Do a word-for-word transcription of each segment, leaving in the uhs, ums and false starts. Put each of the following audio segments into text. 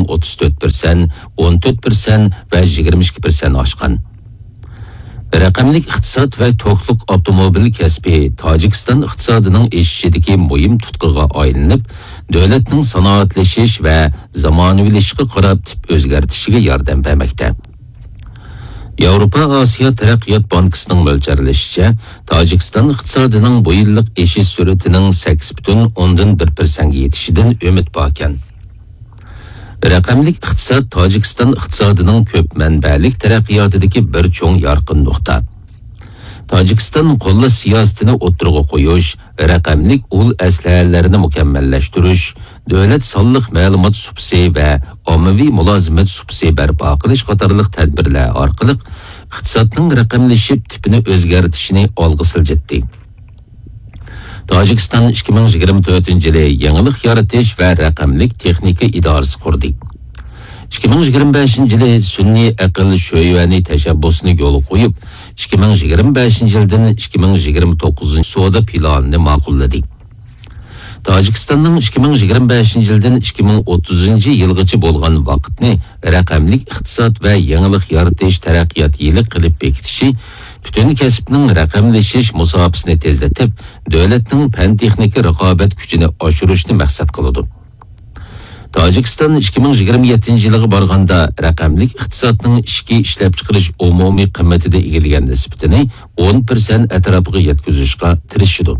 ئوتتۇز تۆت پىرسەنت، ئون تۆت پىرسەنت ۋە يىگىرمە ئىككى پىرسەنت ئاشقان. رەقەملىك ئىقتىساد ۋە توكلۇق ئاپتوموبىل كەسپى تاجىكىستان ئىقتىسادىنىڭ ئېشىشىدىكى مۇھىم تۇتقىغا ئايلىنىپ، دۆلەتنىڭ سانائەتلىشىش ۋە زامانىۋىلىشىشقا قاراپ تىپ ئۆزگەرتىشىگە ياردەم بەرمەكتە. ياۋروپا ئاسىيا تەرەققىيات بانكىسىنىڭ مۆلچەرلىشىچە، تاجىكىستان ئىقتىسادىنىڭ بۇ يىللىق ئېشىش سۈرئىتىنىڭ سەككىز پۈتۈن ئوندىن بىر پىرسەنتكە يېتىشىدىن ئۈمىد باركەن. رەقەملىك ئىقتىساد تاجىكىستان ئىقتىسادىنىڭ كۆپ مەنبەلىك تەرەققىياتىدىكى بىر چوڭ يارقىن نۇقتا. تاجىكىستان قوللاش سىياسىتىنى ئوتتۇرىغا قويۇش، رەقەملىك ئۇل ئەسلىھەلەرنى مۇكەممەللەشتۈرۈش، دۆلەت سانلىق مەلۇمات سۇپىسى ۋە ئاممىۋى مۇلازىمەت سۇپىسى بەرپا قىلىش قاتارلىق تەدبىرلەر ئارقىلىق ئىقتىسادنىڭ رەقەملىشىپ تىپىنى ئۆزگەرتىشىنى ئالغا سىلجىتتى. تاجىكىستان ئىككى مىڭ يىگىرمە تۆتىنچى يىلى يېڭىلىق يارىتىش ۋە رەقەملىك تېخنىكا ئىدارىسى قۇردى. ئىككى مىڭ يىگىرمە بەشىنچى يىلى سۈنئىي ئەقىل شۆيۈەنى تەشەببۇسىنى يولغا قويۇپ، ئىككى مىڭ يىگىرمە بەشىنچى يىلدىن ئىككى مىڭ يىگىرمە توققۇزىنچى سودا پىلانىنى ماقۇللىدى. تاجىكىستاننىڭ ئىككى مىڭ يىگىرمە بەشىنچى يىلدىن ئىككى مىڭ ئوتتۇزىنچى يىلغىچە بولغان ۋاقىتنى رەقەملىك ئىقتىساد ۋە يېڭىلىق يارىتىش تەرەققىيات يىلى قىلىپ بېكىتىشى پۈتۈن كەسىپنىڭ رەقەملىشىش مۇساپىسىنى تېزلىتىپ، دۆلەتنىڭ پەن-تېخنىكا رىقابەت كۈچىنى ئاشۇرۇشنى مەقسەت قىلىدۇ. تاجىكىستان ئىككى مىڭ يىگىرمە يەتتىنچى يىلغا بارغاندا رەقەملىك ئىقتىسادنىڭ ئىچكى ئىشلەپچىقىرىش ئومۇمىي قىممىتىدە ئىگىلىگەن نىسبىتىنى ئون پىرسەنت ئەتراپىغا يەتكۈزۈشكە تىرىشىدۇ.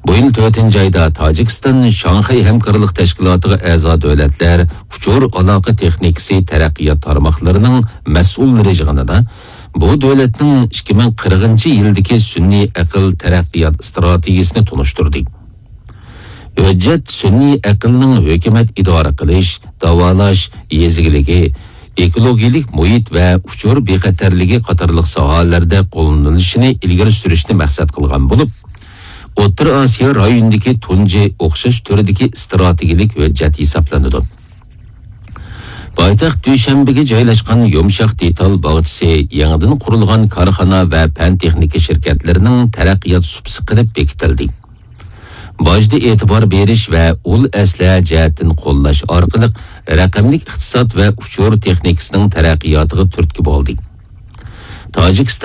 بۇ يىل تۆتىنچى ئايدا تاجىكىستان شاڭخەي ھەمكارلىق تەشكىلاتىغا ئەزا دۆلەتلەر ئۇچۇر ئالاقە تېخنىكىسى تەرەققىيات تارماقلىرىنىڭ مەسئۇللىرى يىغىنىدا بۇ دۆلەتنىڭ ئىككى مىڭ قىرىقىنچى يىلدىكى سۈنئىي ئەقىل تەرەققىيات ئىستراتېگىيىسىنى تونۇشتۇردى. ھۆججەت سۈنئىي ئەقىلنىڭ ھۆكۈمەت ئىدارە قىلىش، داۋالاش، يېزا ئىگىلىكى، ئېكولوگىيەلىك مۇھىت ۋە ئۇچۇر بىخەتەرلىكى قاتارلىق ساھەلەردە قوللىنىلىشىنى ئىلگىرى سۈرۈشنى مەقسەت قىلغان بولۇپ، ئوتتۇرا ئاسىيا رايونىدىكى تۇنجى ئوخشاش تۈردىكى ئىستراتېگىيەلىك ھۆججەت ھېسابلىنىدۇ. پايتەخت دۈشەنبىگە جايلاشقان يۇمشاق دېتال باغچىسى يېڭىدىن قۇرۇلغان كارخانا ۋە پەن-تېخنىكا شىركەتلىرىنىڭ تەرەققىيات سۇپىسى قىلىپ بېكىتىلدى. باجدا ئېتىبار بېرىش ۋە ئۇل ئەسلىھە جەھەتتىن قوللاش ئارقىلىق رەقەملىك ئىقتىساد ۋە ئۇچۇر تېخنىكىسىنىڭ تەرەققىياتىغا تۈرتكە بولدى. تاجىكىستان